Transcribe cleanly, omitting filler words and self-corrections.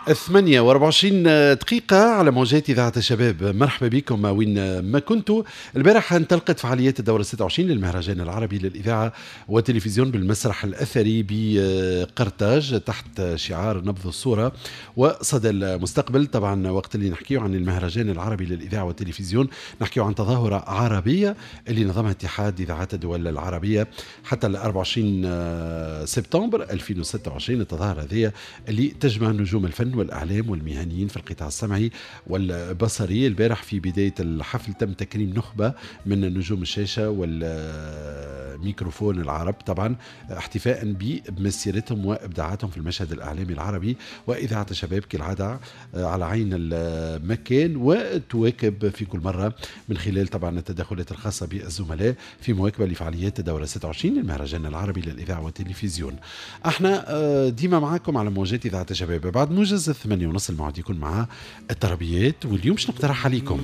8:24 على موجات إذاعة الشباب. مرحبا بكم وين ما كنتوا. البارح انطلقت فعاليات الدورة 26 للمهرجان العربي للإذاعة والتلفزيون بالمسرح الأثري بقرطاج تحت شعار نبض الصورة وصدى المستقبل. طبعا وقت اللي نحكيه عن المهرجان العربي للإذاعة والتلفزيون نحكيه عن تظاهرة عربية اللي نظمها اتحاد إذاعات الدول العربية حتى ال 24 سبتمبر 2026. التظاهرة هذه اللي تجمع نجوم الفن والإعلام والمهنيين في القطاع السمعي والبصري. البارح في بداية الحفل تم تكريم نخبة من نجوم الشاشة والميكروفون العرب، طبعا احتفاء بمسيرتهم وإبداعاتهم في المشهد الإعلامي العربي. وإذاعة الشباب كالعادة على عين المكان وتواكب في كل مرة من خلال طبعا التدخلات الخاصة بالزملاء في مواكبة لفعاليات الدورة 26 للمهرجان العربي للإذاعة والتلفزيون. احنا ديما معاكم على موجات إذاعة الشباب. بعد موجز 8:30 الموعد يكون مع التربيات، واليوم باش نقترح عليكم